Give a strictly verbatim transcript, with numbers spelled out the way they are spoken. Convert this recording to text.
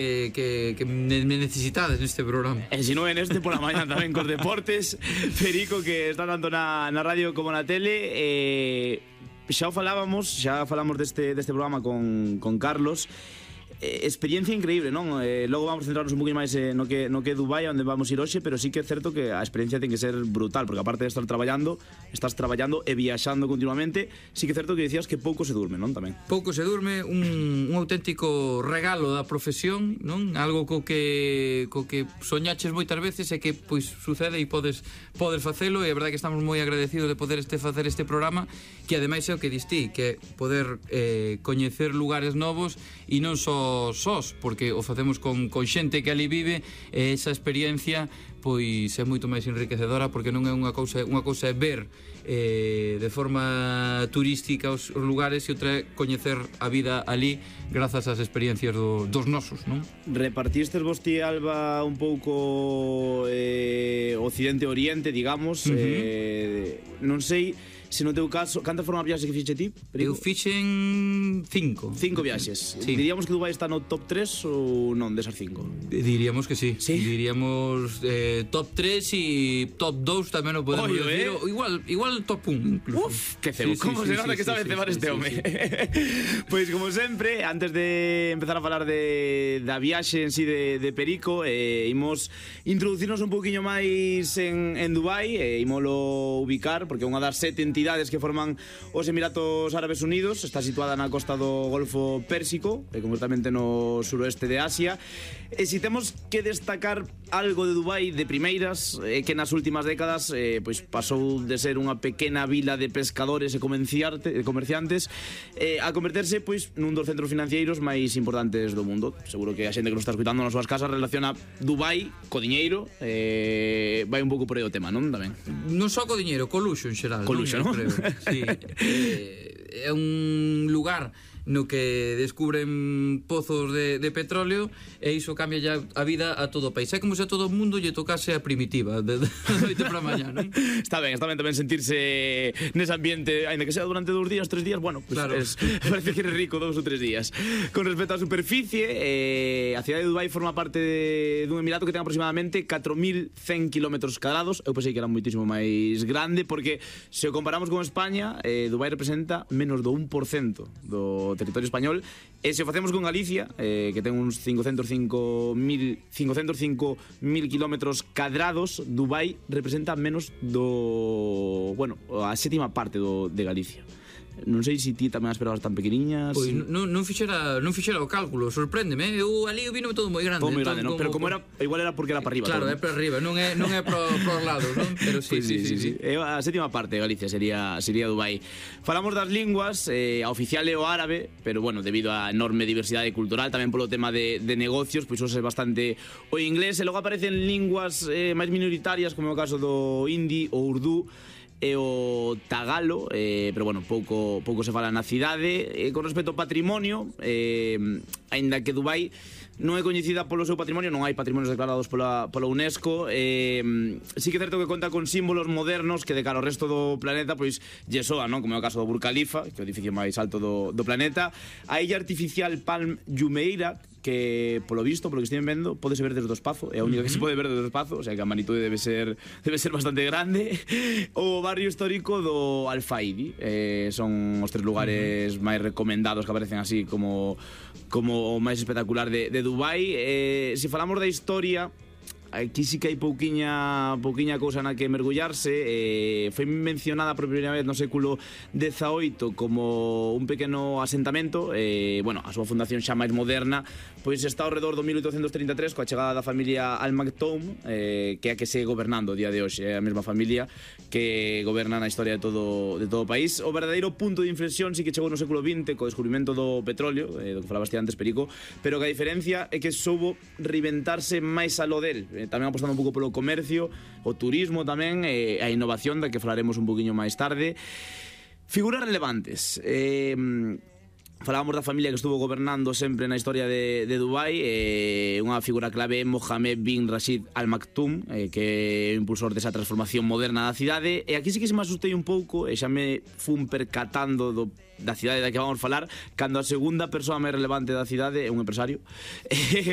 Que, que, que me necesitades neste programa. E se non é neste, pola mañá tamén cos deportes. Perico, que está tanto na, na radio como na tele. eh, Xa o falábamos, xa falamos deste, deste programa con, con Carlos. eh, Experiencia increíble, non? Eh, logo vamos a centrarnos un poquinho máis eh, no que no que é Dubai, onde vamos ir hoxe. Pero sí que é certo que a experiencia ten que ser brutal, porque aparte de estar traballando, estás traballando e viaxando continuamente. Sí que é certo que dicías que pouco se durme, non? Tamén Pouco se durme, un, un auténtico regalo da profesión, non? Algo co que co que soñaches moitas veces e que pois sucede e podes podes facelo, e a verdade que estamos moi agradecidos de poder este facer este programa, que ademais é o que distí, que é poder eh, coñecer lugares novos e non só sós, porque o facemos con, con xente que ali vive, e esa experiencia pois é moito máis enriquecedora, porque non é unha cousa, unha cousa é ver eh, de forma turística os, os lugares, e outra é coñecer a vida ali grazas ás experiencias do, dos nosos, non? Repartistes vos ti, Alba, un pouco eh, occidente-oriente, digamos. uh -huh. eh, Non sei se no teu caso, cantas foron as viaxes que fixe ti? Eu fixen cinco. Cinco viaxes. Sí. Diríamos que Dubai está no top tres ou non desas cinco? Diríamos que sí. Sí. Diríamos eh, top tres e top dos tamén o podemos Oio, decir. eh? Igual, igual top un incluso. Uf, que cebo. Sí, sí, Como sí, se nota sí, que sabe sí, cebar sí, este sí, home. sí. Pois, como sempre, antes de empezar a falar de da viaxe en sí de, de Perico, eh, imos introducirnos un pouquiño máis en, en Dubai, e eh, imolo ubicar, porque é unha das sete entidades que forman os Emiratos Árabes Unidos. Está situada na costa do Golfo Pérsico, e concretamente no suroeste de Asia. E se temos que destacar algo de Dubai de primeiras, é que nas últimas décadas eh, pois pasou de ser unha pequena vila de pescadores e comerciantes eh, a converterse pois nun dos centros financeiros máis importantes do mundo. Seguro que a xente que nos está escutando nas súas casas relaciona Dubai co diñeiro. eh, Vai un pouco por aí o tema, non? Tamén Non só co diñeiro, co luxo en xeral. Co luxo, non? Creo. Sí. eh, é un lugar no que descubren pozos de, de petróleo, e iso cambia ya a vida a todo o país. É como se a todo o mundo lle tocase a primitiva de, de, de noite para mañá, non? Está ben, está ben tamén sentirse nese ambiente, aínda que sea durante dous días, tres días, bueno, pues claro. es, parece que eres rico dous ou tres días. Con respecto á superficie, eh, a cidade de Dubai forma parte de, dun emirato que ten aproximadamente catro mil cen kilómetros cadrados. Eu pensei que era moitísimo máis grande, porque se o comparamos con España, eh, Dubai representa menos do un por cento do territorio español. E se o facemos con Galicia, eh, que ten uns cincocentos cinco mil kilómetros cadrados, Dubai representa menos do... bueno, a sétima parte do, de Galicia. Non sei se ti tamén as esperabas tan pequeniñas. Pois non, non fixera non fixera o cálculo, sorpréndeme. Eu ali vino todo moi grande. Todo moi grande, non? Pero como era, igual era porque era para arriba. Claro, todo, é para arriba, non é non é para os lados, non? Pero sí, pues sí, sí, sí, sí. sí. A sétima parte de Galicia sería sería Dubai. Falamos das linguas, eh, a oficial é o árabe, pero bueno, debido á enorme diversidade cultural, tamén polo tema de, de negocios, pois hoxe é bastante o inglés, e logo aparecen linguas eh, máis minoritarias, como é o caso do hindi ou urdú e o tagalo, eh, pero bueno, pouco pouco se fala na cidade. E con respecto ao patrimonio, eh, aínda que Dubai non é coñecida polo seu patrimonio, non hai patrimonios declarados pola, pola UNESCO, eh, sí que é certo que conta con símbolos modernos que de cara ao resto do planeta pois lle soa, non? Como é o caso do Burj Khalifa, que é o edificio máis alto do, do planeta. A illa artificial Palm Jumeirah, que polo visto, polo que estive vendo, podese ver desde o espazo, é a única que se pode ver desde o espazo, o sea que a magnitude debe ser debe ser bastante grande. O barrio histórico do Al-Faidi, eh, son os tres lugares uh -huh. máis recomendados, que aparecen así como como o máis espectacular de, de Dubai. Eh, se falamos da historia, aquí sí que hai pouquiña pouquiña cousa na que mergullarse. eh, Foi mencionada por primeira vez no século dezaoito como un pequeno asentamento. eh, Bueno, a súa fundación xa máis moderna pois está ao redor do mil oitocentos trinta e tres, coa chegada da familia Al Maktoum, eh, que é a que segue gobernando o día de hoxe. É a mesma familia que goberna na historia de todo, de todo o país. O verdadeiro punto de inflexión sí que chegou no século vinte, co descubrimento do petróleo, eh, do que falabas antes, Perico, pero que a diferencia é que soubo reinventarse máis alo del, tamén apostando un pouco polo comercio, o turismo tamén, e a innovación, da que falaremos un poquinho máis tarde. Figuras relevantes. Eh, falábamos da familia que estuvo gobernando sempre na historia de, de Dubai. eh, Unha figura clave é Mohammed bin Rashid Al Maktoum, eh, que é o impulsor desa transformación moderna da cidade. E aquí sí que se me asustei un pouco, e xa me fun percatando do, da cidade da que vamos falar, cando a segunda persoa máis relevante da cidade é un empresario.